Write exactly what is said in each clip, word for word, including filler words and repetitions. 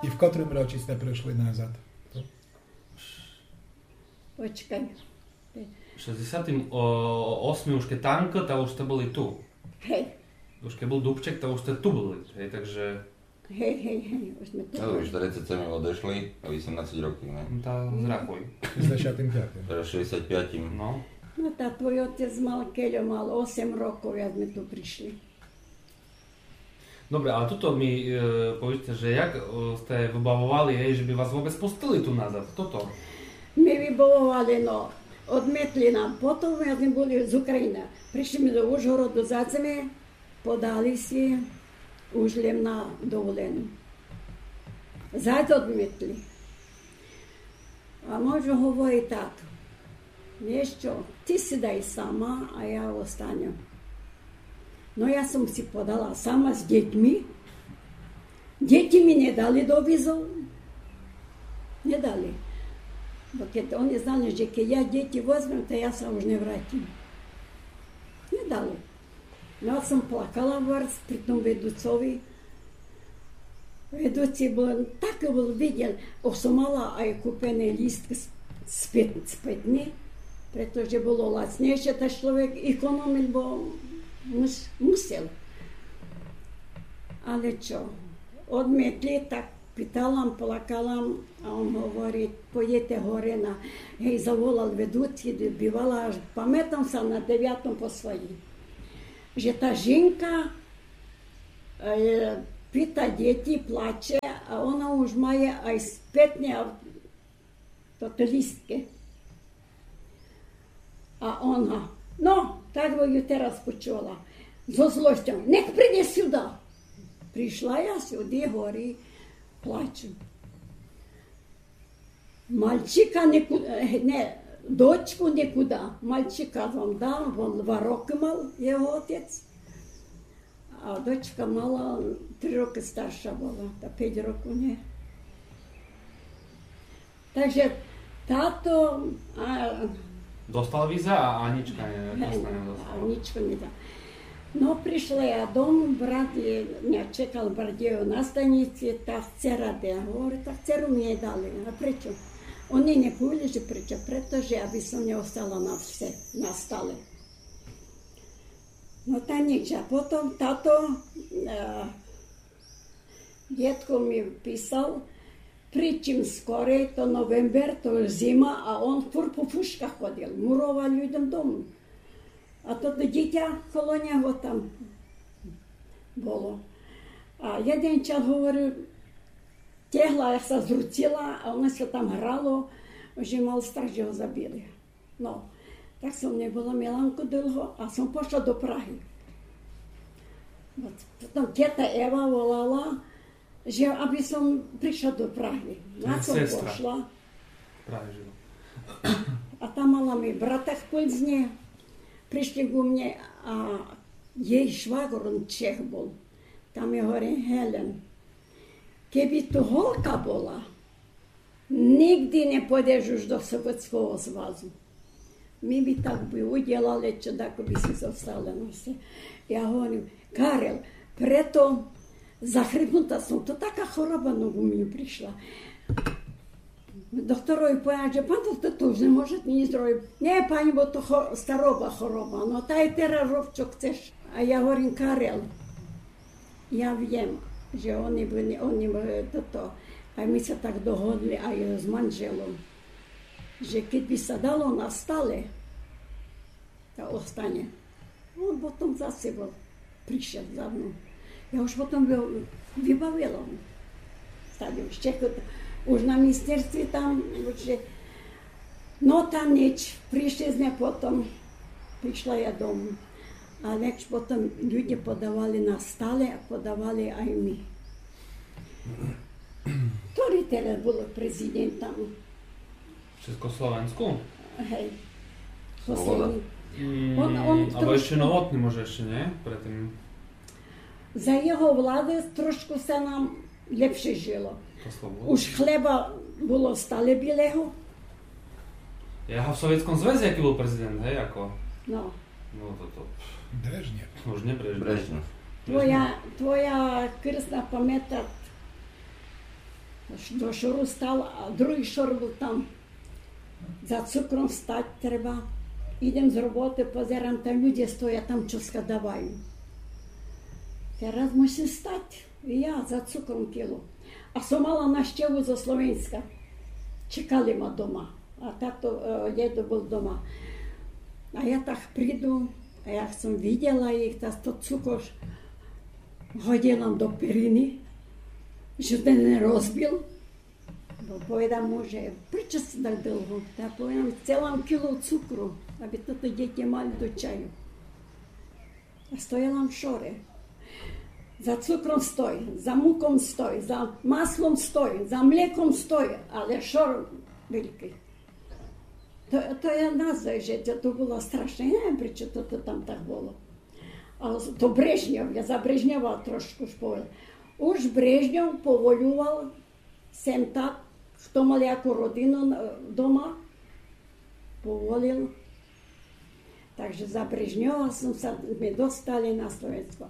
И в котрым році сте пришли назад? Почекай. Шестдесятым осмым уж кед танка, та уж сте были ту. Гей. Уж кед был Дубчик, та уж сте ту были. Гей, так же... Гей, гей, гей, уж сме ту были. Но, уж тридцет сем одешли, а вісемнадцет років, не? Но, та зрахуй. Шестдесятым пятым. Тераз шестдесятым пятым. Но. Но, та твой отец мал, кельо мал, осем років, як сме ту пришли. Добре, а тото ми, е, повіджте, же як, е, сте выбавовали, гей, же би вас вообец пустили ту назад? Тото. Ми выбавовали, но, одметли нам. Потом, як сме были з Україны, пришли сме до Ужгороду, зась сме подали ся уж лєм на доволену. Зась одметли. А мой же говори: тато, нєшто, ти сидай сама, а я останем. Но, я сом ся подала сама з дїтьми. Дїти ми не дали до візу. Не дали. Бо кед они знали, же кед я дїти возмем, та я ся уж не вратим. Не дали. Но, я сом плакала барз при том ведуцови. Ведуци был, так был виден, ож сом мала ай купени лїстк з, з пет-, з петни, прето же было лацнєйше, та чловек економил, бо мус-, мусел. Але чо, одметли, так питала м, плакала м, а он говори: пойдєте горе на, гей, заволал ведуци, бивала, аж паметам ся на девятом по своїм, же та жінка, е, пита дїти, плаче, а она уж має ай з петни, а то, то лїстки. А она: но, так бы ю тераз почула. Зо злосцьом: нїх придє сюда. Пришла я сюды, горі, плачу. Мальчика нику-, е, не, дочку никуда. Мальчика вам дал, вон два рокы мал, його отец. А дочка мала, три рокы старша была, та пет рокы, нє. Так же тато, а... Достал віза, а Анічка не, не, не достала. Анічка не дала. Но, пришла я дому, брат є, ня чекал в Бардєву на станїци, та вцера де. Говори: та вцеру ми нє дали. А пречо? Они нє повіли, же пречо. Прето же я би сом нє остала на все, на стале. Но, та нїч, а потом тато, е, дєдко ми писал: придь чим скорей, то новембер, то зима, а он фурт по фушках ходил, муровал людям дому. А то, то дїтя коло нього там было. А єден час, говори, тягла, я ся зруцила, а оно ся там грало, же мал страх, же го забили. Но, так сом нє была Міланко долго, а сом пошла до Прагы. От, потом тєта Ева волала, же аби сом пришла до Прагы. На сом пошла. Прагы жила. А там мала ми брата в Пилзне. Пришли ку мнє, а єй швагор, он Чех был. Та ми говори: Гелен, кед би ту голка была, нїґда не пойдеш уж до Совєтского Звязу. Ми би так би удїлали, чо дако би си зостала на все. Я говорю: Карел, прето захрипнута сом, то така хороба нову ми пришла. Докторови поведал, же пан доктор, то уж нє можете нїч зробиц. Нє, панї, бо то хо-, староба хороба. Но, та й тераз роб, чо хцеш. А я говорим: Карел, я вєм, же они были, они были тото, а ми ся так догодли ай з манжелом, же кед би ся дало на стале, та остане. Он потом зась был, пришел за мном. Я уж потом вы-, выбавила. Стали уж чекати. Уж на міністерстві там, уж же. Но, та нїч, пришли сьме потом, пришла я дому. А лиш потом люди подавали на стале, а подавали ай ми. Хтори тераз бул президентом? Чехословенску? Гей. Слобода. Послєднї. М, он, он або трошку іщи Новотный, може, іщи, нє? Пред тым. За його влады трошку ся нам лєпше жило. Та Слобода. Уж хлеба було стале білего. Я в Совєтском Звязі, якый бул президент, гей, яко? Но. Но, то, то. Брежнєв. Уж нє Брежнєв. Брежнєв. Твоя, твоя крсна паметат До шору стал, а другый шор был там. За цукром стать треба. Идем з роботы, позерам, там люде стоят, там чоска давают. Тераз мусим стать. И я за цукром кіло. А сом мала нащеву зо Словенска. Чекали ма дома. А тато, е, дєдо был дома. А я так приду, а як сом виділа їх, та то цукор годила до перины, же се не розбил. Бо поведам му, же пречо сце так долго? Та поведам, цела м кіло цукру, абы тото дїтя мали до чаю. А стояла м в шоре. За цукром стой, за муком стой, за маслом стой, за млеком стой, але шор великый. То, то я назву, же то, то было страшне. Я не вем, пречо то, то там так было. А то Брежнєв, я за Брежнєва трошку уж повем. Уж Брежнєв поволювал сем так, хто мал яку родину, е, дома, поволил. Так же за Брежнєва сом ся, зме достали на Словенско.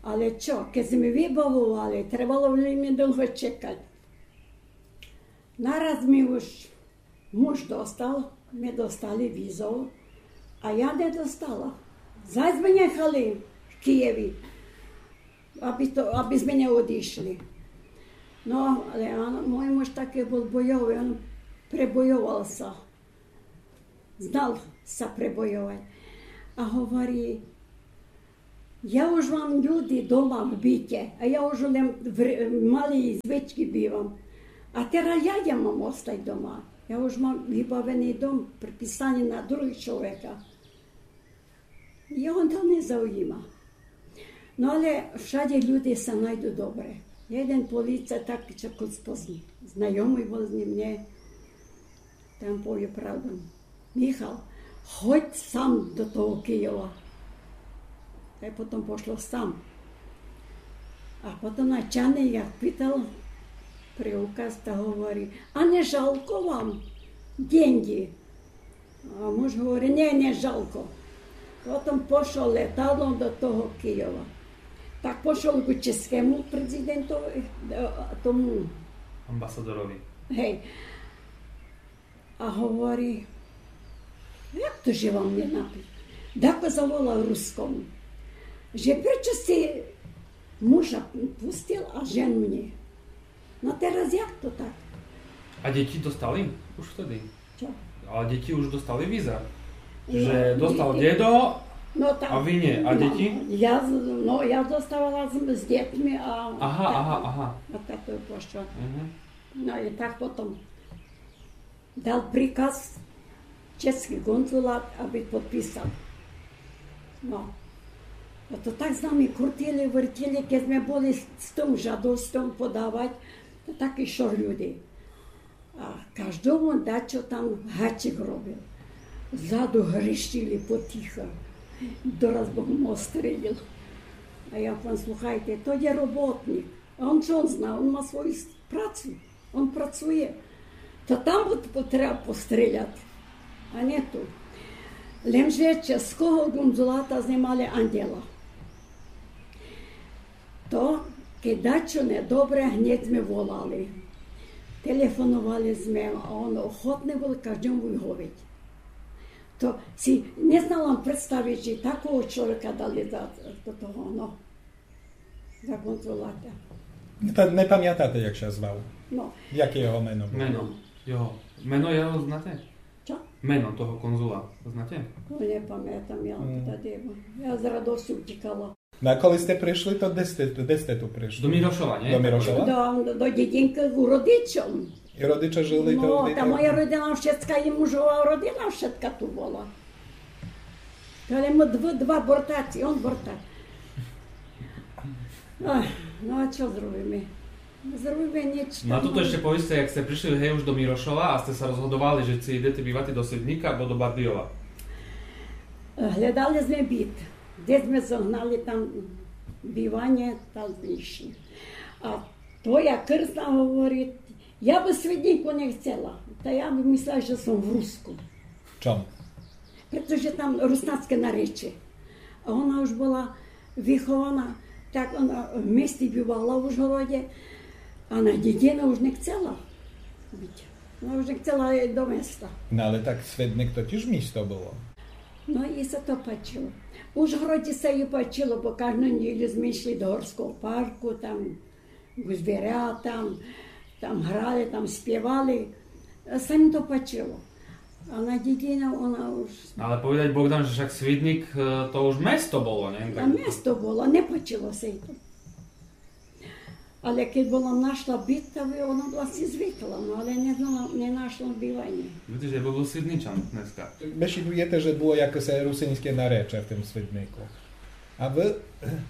Але чо, кед зме выбавовали, требало вельми долго чекать. Нараз ми уж муж достал, ми достали візу, а я не достала. Зась зме нєхали в Києви, абы то, абы зме не одишли. Но, але он, мой муж такый был бойовый, он пребойовал ся. Знал ся пребойовать. А говори, я уж мам люди дома в бите, а я уж лем в ре-, малій звички бивам. А тераз як я мам остать дома? Я уж мам выбавеный дом, приписаный на другого чоловіка. Його то не зауїма. Но але вшадє люди ся найду добре. Єден поліцай такый, чо кус познї. Знайомый был з нїм, нє. Та м повів правду. Михал, ходь сам до того Києва. Та й потом пошол сам. А потом начальник як питал при указ, та говори: «А не жалко вам деньги?» А муж говори: «Нє, не жалко». Потом пошол леталом до того Києва. Так пошол ку чеському президентови, е, тому. Амбасадорови. Гей. А говори: «Як то же вам не написал?» Дако заволал рускому, же пречо сце мужа пустил, а жену нє? Но тераз як то так? А дїти достали уж втеди? Чо? А дїти уж достали віза? Но, же достал дїти. Дєдо, но, так, а вы нє. А но, дїти? Я з-, но, я зоставала з, з дїтьми, а... Ага, тато, ага, ага. А тато пошол. Мгм. Но и так потом дал приказ чеськый конзулат, абы подписал. Но. А то так з нами крутили, вертили, кед зме были з, з тым жадосцьом подавать, то такый шор люди. А каждому дачо там гачик робил. Ззаду грищили потихо. Дораз бы м го стрелил. А я повем: «Слухайте, то є роботник. А он чо он зна? Он ма свою с-, працу. Он працує. Та там бы т-, треба постреляти, а нє ту». Лем же чеського конзулата зме мали ангела. То, кед дачо недобре, гнєд зме волали. Телефоновали зме, а он охотный был каждому выговіт. То си нє знала м представиц, же такого чоловіка дали за, до того, но, за конзулата. Не па-, не памятате, як ся звал? Но. Яке його мено было? Мено його. Мено його знате? Чо? Мено того конзула знате? Но, нє памятам, я... М. Тогды, я з радосцю утїкала. Но а коли сте пришли, то де сте, де сте ту пришли? До Мирошова, нє? До Мирошова? До, до дїдинкы ку родичом. И родиче жили... Но, тогды та моя родина вшытка, и мужова родина вшытка ту была. Та лем мы дв-, два бортаци, он бортац. Ой, но а чо зробиме? Зробиме нїч. Но а тото іщи повіджте, як сте пришли, гей, уж до Мирошова, а сте ся розгодовали, же ци идете бивати до Свиднїка або до Бардийова? Глєдали зме бит. Де зме зогнали там биванє, там зме ишли. А твоя крсна говори: «Я бы в Свиднїку нє хцела». Та я бы мислела же сом в Руску. Чом? Прето же там руснацке наречие. А она уж была выхована, так она в мести бивала в Ужгороде. А Надєдїна уж не хцела быти. Она уж не хцела до места. Но але так Свидник то тіж місто было. Но і ся то пачыло. В Ужгородї ся єй пачыло, бо кажду нєдїлю зме йшли до Горского парку, там к звірятам, там грали, там співали. Ся єм то пачыло. А Надєдїна, она уж... Но але повідать Богдан, же вшак Свидник, е, то уж место было, не? А место было, не пачыло ся єй то. Але кедь была нашла быт, та она была си звикла, но але не знала, не нашла быванє. Видиш, я бы был Свидничан днеска. Бесідуєте, же было якесь русиньске наречє в тым Свиднику. А вы,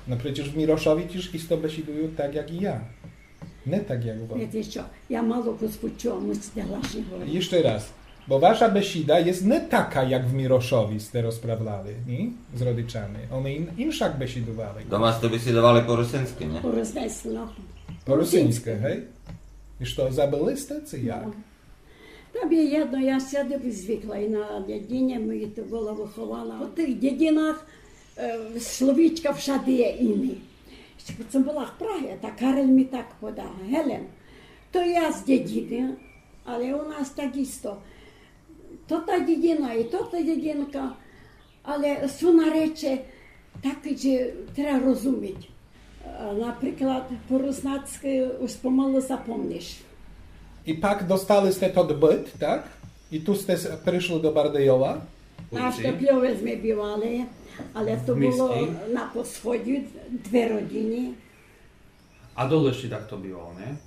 но преце в Мірошови тіж істо бесідуют так, як і я. Не так, як вы. Віце што, я мало кус почула, мусите глашні говорити. Іщы раз. Бо ваша бесіда єст не така, як в Мірошови сте розправляли, ні? З родичами. Они ін-, іншак бесідували. Дома сте бесідували по русиньскы, ні? По русиньскы, но. По русиньскы, гей? І што, забыли сте, ци як? Но. Та мі єдно, я сяде звикла і на дєдїні, мі то была выхована. По тых дєдїнах, е, словічка вшади є іні. Што была в Прагы, та Карель мі так подав. Гелен, то я з дєдїны, але у нас так істо. То та дєдїна і то та дєдїнка, але сут наречє такі, же треба розуміти. Е, наприклад, по руснацькы уж помалы запомниш. І пак достали сте тот быт, так? І ту сте с-, пришли до Бардийова? На Штепльови зме бывали, але то было на посході, дві родины. А доле іщы так то бывало, не?